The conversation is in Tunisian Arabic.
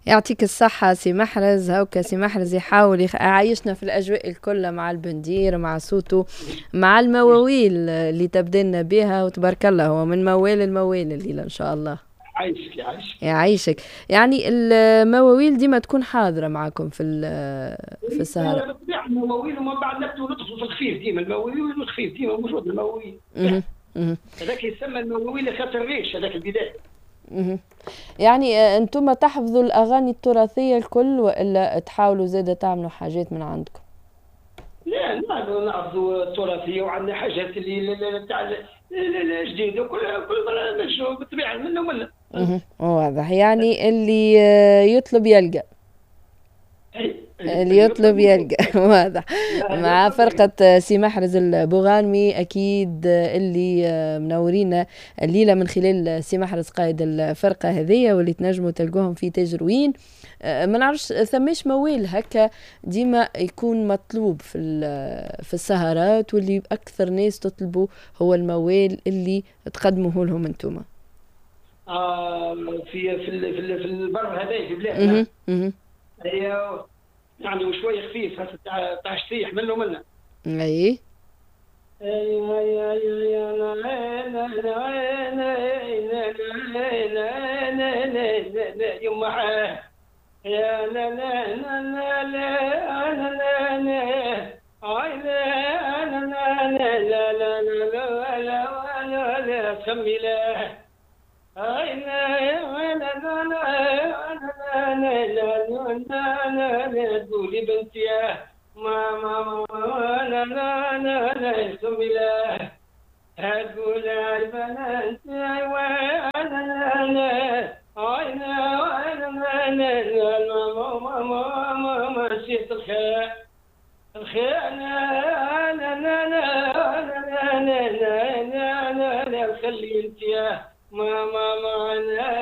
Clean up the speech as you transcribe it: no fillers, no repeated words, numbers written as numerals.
يعطيك الصحة سي محرز. هاوكا سي محرز يحاول يعيشنا في الأجواء الكل مع البندير، مع صوته، مع المواويل اللي تبدلنا بها، وتبارك الله هو من موال الموال الليلة إن شاء الله. عايشك يعيشك. يعيشك. يعني المواويل ديما تكون حاضرة معكم في السهرة. بالطبيعة المواويل، ومن بعد نبدو ندخلوا في الخفيف ديما، المواويل والخفيف ديما موجود المواويل. هذاك يسمى المواويل خاطر الريش هذاك البداية. يعني انتم تحفظوا الاغاني التراثية الكل والا تحاولوا زاده تعملوا حاجات من عندكم؟ لا، نحفظوا التراثية وعندنا حاجات اللي تاع الجديدة وكل مرة نمشوا بالطبيعة منا ومنا. واضح، يعني اللي يطلب يلقى. اللي يطلب يلقى. واضح. مع فرقة سي محرز البوغانمي أكيد اللي منورينا الليلة من خلال سي محرز قائد الفرقة هذية، واللي تنجموا تلقوهم في تاجروين. ما نعرفش ثماش موال هكا ديما يكون مطلوب في السهرات، واللي أكثر ناس تطلبوا هو الموال اللي تقدموه لهم انتوما. في في في البر هذايا في بلادنا. هي يعني وشوية خفيف تاع شطيح منه منا. اي يا لا لا لا لا لا لا لا لا لا لا لا لا لا سمي لا لا لا تقولي بنتي ما ما لا لا لا لا سمي لا تقول البنات لا لا لا ما نسيت الخير الخير لا لا لا لا لا لا لا لا خلي انت ما ما ما لا